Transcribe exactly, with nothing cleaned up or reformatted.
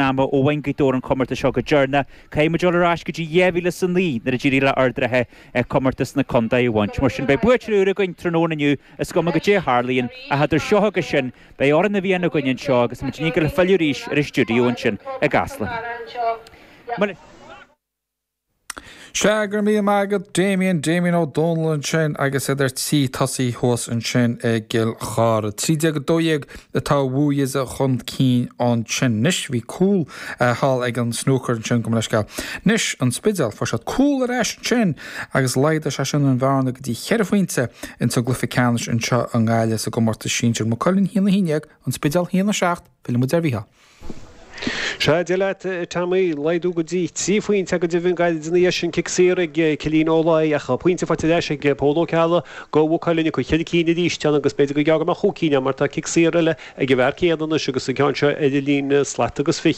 ama ó bhain Gaoth Dobhair an comórtas seo go deireanach. Caithfidh muid dul ar ais go dtí dhá mhíle is a naoi nuair a d'éirigh le Ard an Rátha comórtas na contae a bhaint. Mar sin beidh buaiteoir úr againn tráthnóna inniu is cuma goidé a tharlaíonn ach idir seo agus sin beidh Odhrán na bhFiann againn anseo agus muid ag dul filleadh arís ar an stiúideo ansin i gCasla. Sea go raibh míle maith agat Damien Damien Ó Dónaill ansin agus iad ar tí tosaí thuas ansin i gCill Chartha. Trí déag a dó dhéag atá Wu Yize chun cinn ansin. Anois bhí cúl thall ag an snúcar ansin gabh mo leithscéal. Anois an Spidéal fuair siad cúl ar ais ansin agus laghdaigh sé sin an bhearna go dtí cheithre phointe insa gcluiche ceannais anseo i nGaillimh sa gcomórtas sinsir. Maigh Cuilinn a haon a haon déag an Spidéal a haon a seacht fillfidh muid ar Mhícheál. Sea Dia leat Tommy laghdú go dtí trí phointe go deimhin gairid ina dhiaidh sin cic saor ag Cillian Ó Laoi ach pointe faighte ar ais ag Pól Ó Ceallaigh do Mhaigh Cuilinn acu cheithre cinn arís ann agus b'fhéidir go gearr go mbeadh chúig cinn mar tá cic saor eile ag an bhfear céanna anois agus an ceann seo ar an líne slat agus fiche.